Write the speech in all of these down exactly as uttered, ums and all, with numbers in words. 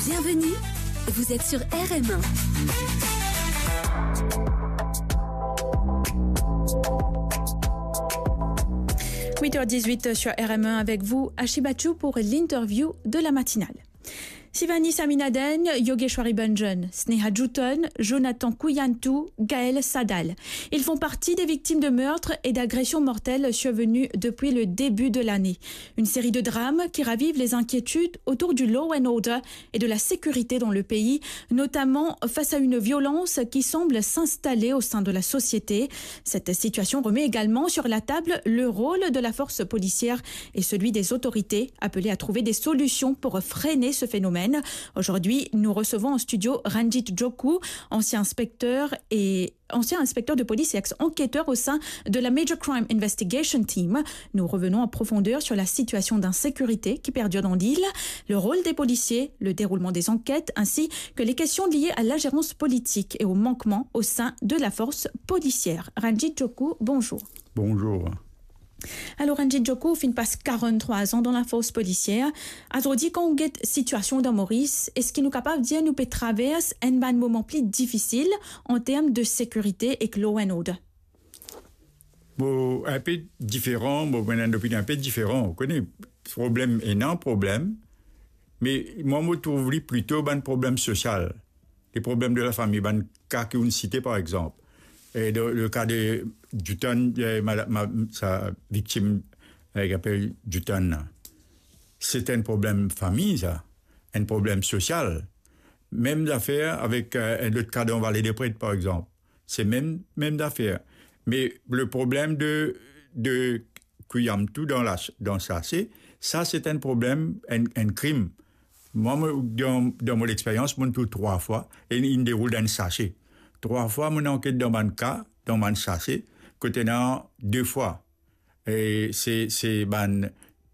Bienvenue, vous êtes sur R M un. Huit heures dix-huit sur R M un avec vous, Ashi Bachou pour l'interview de la matinale. Sivani Saminaden, Yogeshwari Banjan, Sneha Juton, Jonathan Kuyantu, Gaël Sadal. Ils font partie des victimes de meurtres et d'agressions mortelles survenues depuis le début de l'année. Une série de drames qui ravivent les inquiétudes autour du law and order et de la sécurité dans le pays, notamment face à une violence qui semble s'installer au sein de la société. Cette situation remet également sur la table le rôle de la force policière et celui des autorités, appelées à trouver des solutions pour freiner ce phénomène. Aujourd'hui, nous recevons en studio Ranjit Joku, ancien inspecteur et ancien inspecteur de police et ex-enquêteur au sein de la Major Crime Investigation Team. Nous revenons en profondeur sur la situation d'insécurité qui perdure dans l'île, le rôle des policiers, le déroulement des enquêtes, ainsi que les questions liées à l'ingérence politique et aux manquements au sein de la force policière. Ranjit Joku, bonjour. Bonjour. Alor, Ranjit Joku, ou finn pas quarante-trois ans dans la force policière. Azordi, kan ou get sitiasion dan Moris, eski nou kapav dir nou pe travers enn bann moman pli difisil an term de sekirite ek law and order? Bon, enpe diferan, bon, mo ena enn opinion enpe diferan. Ou kone, problem ena problem, me mwa, mo trouv li plito bann problem sosial. Les problèmes de la famille, bann ka ki ou'nn site, par exemple. E dan le ka de Jutan, eh, mada-, ma-, sa viktim, eh, ki apel Jutan la. Se enn problem fami, sa. Enn problem sosial. Mem zafer avek, eh, enn lot ka dan Vale de Pret, par exemple. Se mem, mem zafer. Me le problem de, de Kuyantu dan la, dan sase, sa se enn problem, enn, enn krim. Mwa, mo, dan, dan mo lexperyans, mo'nn trouv trwa fwa, e inn deroul dan enn sase. Trwa fwa, mo'nn anket dan bann ka, dan bann sase, kot ena de fwa. E se, se bann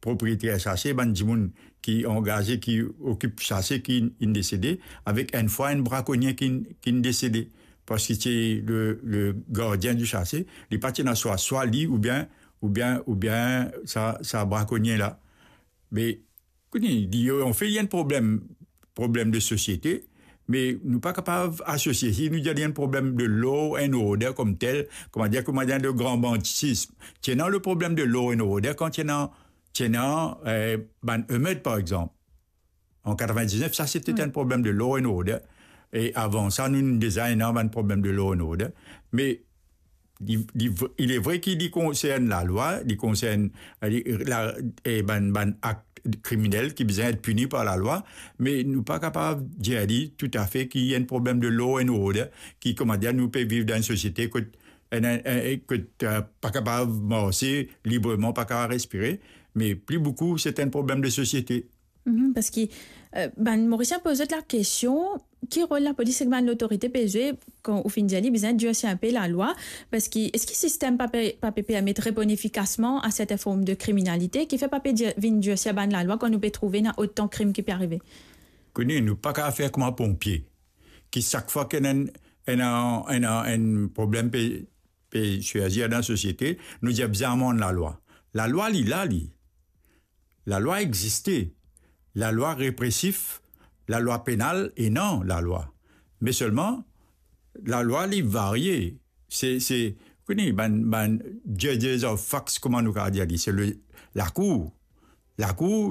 propriyeter sase, bann dimoun ki angaze, ki okip sase, ki inn desede, avek enn fwa enn brakonie ki, ki'nn desede. Parski se le, le gardien du sase, li pa ti ena swa, swa li oubien, oubien, oubien sa, sa brakonie la. Me, kote, li, anfet, li enn problem, problem de sosiete, me nou pa kapav asosie, si nou dir li enn problem de law and order koumsa, kouma dir, kouma dir de gran banditism. Ti ena le problem de law and order kan ti ena, ti ena, eh, bann emet, par exanp. An katrevin-diz-nef, sa, se ti enn problem de law and order. E avan sa, nou, nou deza ena bann problem de law and order. Me li, li, il est vrai ki li konsern lalwa, li konsern, li, la, e bann, bann akt kriminel ki bizin et pini par lalwa, me nou pa kapav dir li toutafe ki enn problem de law and order, ki, kouma dir, nou pe viv dan enn sosiete kot, enn, enn, enn, kot, eh, pa kapav marse libreman, pa kapav respire, me pli boukou, se enn problem de sosiete. Mhm, parski, eh, bann Morisien poz zot lakestion, ki rol lapolis ek bann lotorite pe zwe, kan ou finn dir li bizin dirsir enpe lalwa, parski eski sistem pa pe, pa pe permet reponn efikasman a sertin form de kriminalite, kifer pa pe dir, vinn dirsir bann lalwa kan nou pe trouve ena otan krim ki pe arive? Kone, nou pa kapav fer kouma ponpie, ki sak fwa ki ena enn, ena, ena enn problem pe, pe sirzir dan sosiete, nou dir bizin amann lalwa. Lalwa, li la, li. Lalwa existe. Lalwa represif, lalwa penal, ena lalwa. Me selman, lalwa, li varie. Se, se, kone, bann, bann judges of facts, kouma nou kapav dir li, se le, lakour. Lakour,